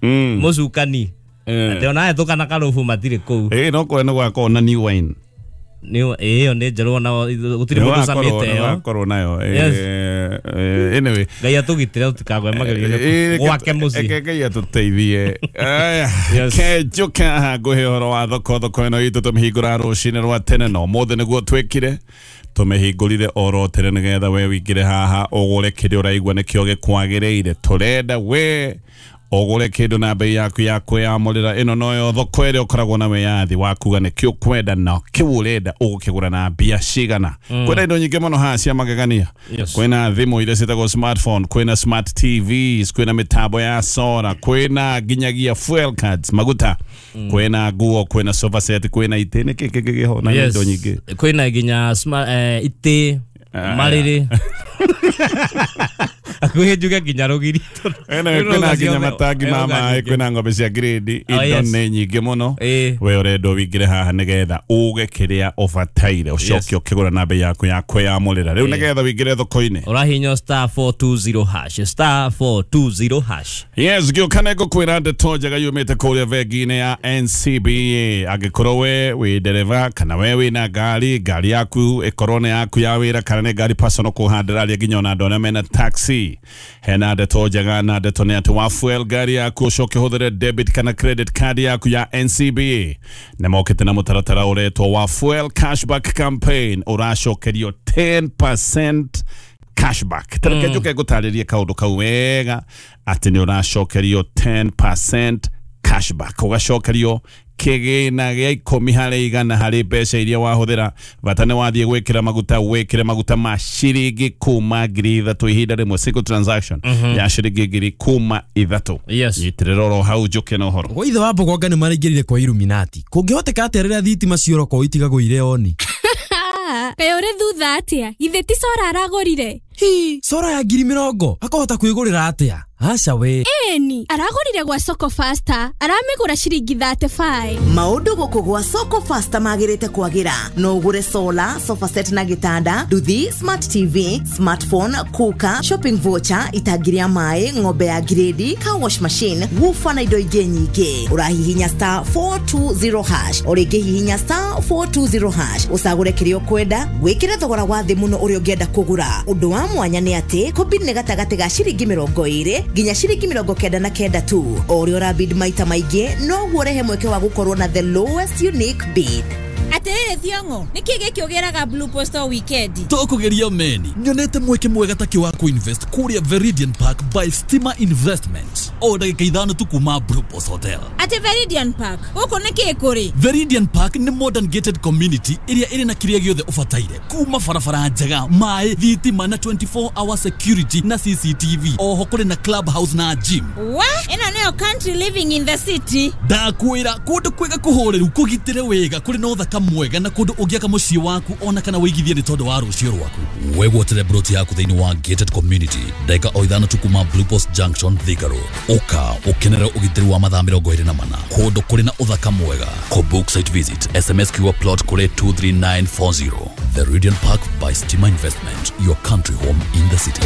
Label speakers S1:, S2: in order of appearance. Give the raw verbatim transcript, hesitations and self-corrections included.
S1: Mm.
S2: Mũcukani.
S1: Eh.
S2: Atĩ ona hetũka na karũbu matirĩ kũu.
S1: Ĩ no kũrĩa nĩ gwakorwo na new wine.
S2: Nĩ ĩyo nĩ njerũ, ona gũtirĩ mũndũ ũcamĩte ĩyo.
S1: Wakorwo nayo.
S2: Yes.
S1: Eh, eh, anyway.
S2: Ngai atũgitĩre tũtikagwe magerio-inĩ
S1: Eh,
S2: gwake mũciĩ.
S1: Reke Ngai atũteithie. Aya,
S2: Yes.
S1: ke njũke haha ngũhe ũhoro wa thoko. Thoko ĩno itũ tũmĩhingũra rũcinĩ rwa tene, no ũmũthĩ nĩguo twĩkire, tũmĩhingũrire oro tene nĩgetha we wĩingĩre haha ũgũre kĩrĩa ũraigua nĩkĩo gĩkwagĩrĩire. Tũrenda we ũgũre kĩndũ na bei yaku ya kwĩyamũrĩra. Ĩno noyo thoko ĩrĩa ũkoragwo na wĩyathi wa kuga nĩkĩ ũkwenda na kĩu ũrenda ũgũkĩgũra na mbia cigana. Kwĩna indo nyingĩ mũno haha cia magegania.
S2: Yes.
S1: Kwĩna thimũ iria ciĩtagwo smartphone, kwĩna smart T Vs, kwĩna mĩtambo ya solar, kwĩna nginyagia fuel cards, maguta, kwĩna nguo, kwĩna sofa set, kwĩna itĩ, nĩkĩ kĩngĩ kĩho na
S2: Yes.
S1: indo nyingĩ.
S2: Kwĩna nginya sma- eh, itĩ,
S1: Ah,
S2: marĩrĩ, hakuhĩ njuge nginya rũgiri.
S1: Ene, kwĩna nginya matangi ma maĩ, kwĩna ng'ombe cia grade.
S2: Oh,
S1: Indo
S2: yes.
S1: nĩ nyingĩ mũno.
S2: Ĩĩ.
S1: We ũrendwo wĩingĩre haha nĩgetha uge kĩrĩa ũbataire, ũcoke ũkĩgũra na bei yaku ya kwĩyamũrĩra. Rĩu nĩgetha wĩingĩre thoko-inĩ,
S2: ũrahihinya star four two zero hash, star four two zero hash.
S1: Yes, ngĩũka nĩ ngũkwĩra ndeto njega yumĩte kũrĩa bengi-inĩ ya N C B A. Angĩkorwo we wĩ ndereba kana we wĩna ngari, ngari yaku ĩkorwo nĩ yaku ya wĩra kana nĩ ngari personal, kũhandĩra nginya ona andũ arĩa mena taxi, hena ndeto njega, na ndeto nĩ atĩ wa fuel ngari yaku ũcoke ũhũthĩre debit kana credit card yaku ya N C B A, nĩ mokĩte na mũtaratara ũretwo wa Fuel Cashback Campaign. Ũracokerio ten percent cashback. Tareke njuke ngũtarĩrie kaũndũ kau wega, atĩ nĩ ũracokerio ten percent cashback, ũgacokerio kĩgĩna gĩa ikũmi harĩ igana harĩ mbeca iria wahũthĩra. Bata nĩ wathiĩ gwĩkĩra maguta, wĩkĩre maguta ma ciringi kuma ngiri ithatũ ihinda rĩmwe, single transaction ya ciringi ngiri kuma ithatũ.
S2: Yes.
S1: Nyitĩrĩra oro hau njũke na ũhoro.
S3: Gwa ithe wa Mbogonga nĩ maraingĩrire kwa Illuminati. Kũngĩhoteka atĩa rĩrĩa thitima ciora kwao itigagwo irĩ oni?
S4: Kaĩ ũrĩ thutha atĩa? Githĩ ti solar aragũrire?
S3: Hi, solar ya ngiri mĩrongo akahota kwĩgũrĩra atĩa? Aca we.
S4: Ĩni, aragũrire gwa Soko Faster, aramĩgũra ciringi thirty-five.
S5: Maũndũ gũkũ gwa Soko Fasta magĩrĩte kwagĩra. No ũgũre solar, sofa set na gĩtanda, nduthi, smart T V, smartphone, cooker, shopping voucher, itangi rĩa maĩ, ng'ombe ya grade, car wash machine, woofer na indo ingĩ nyingĩ. Ũrahihinya star four two zero hash, o rĩngĩ hihinya star four two zero hash, ũcagũre kĩrĩa ũkwenda, wĩkĩre thogora wa thĩ mũno ũrĩa ũngĩenda kũgũra. Ũndũ wa mwanya nĩ atĩ kũbid nĩ gatagatĩ ga ciringi mĩrongo ĩrĩ nginya ciringi mĩrongo kenda na kenda tu. O ũrĩa ũrabid maita maingĩ, noguo ũrehe mweke wa gũkorwo na the lowest unique bid.
S6: Atĩrĩrĩ Thiong'o, nĩkĩ gĩkĩ ũgĩraga Blue Post o weekend?
S7: Tũkũgeria meni nyonete mweke mwega takĩ wa kũinvest kũrĩa Veridian Park by Stima Investment, o ndagĩka ithano tu kuma Blue Post Hotel.
S6: Atĩ Veridian Park gũkũ nĩkĩ kũrĩ?
S7: Veridian Park nĩ modern gated community ĩrĩa ĩrĩ na kĩrĩa gĩothe ũbataire, kuma barabara njega, maĩ, thitima na twenty-four hour security na C C T V. Oho kũrĩ na club house na gym.
S6: Wa ĩno nĩyo country living in the city.
S7: Ndakwĩra kũndũ kwega, kũhũrĩru, kũgitĩre wega, kũrĩ na ũthaka mwega na kũndũ ũngĩaka mũciĩ waku ona kana wĩigithie nĩ tondũ wa rũciũ rwaku. Wegwatĩre broti yaku thĩinĩ wa gated community, ndagĩka o ithano tu kuma Blue Post Junction, Thika Road. Ũka ũkenere ũgitĩri wa mathaa mĩrongo ĩrĩ na mana, kũndũ kũrĩ na ũthaka mwega. Kũbook site visit, S M S kiugo plot kũrĩ two three nine four zero. Veridian Park by Stima Investment, your country home in the city.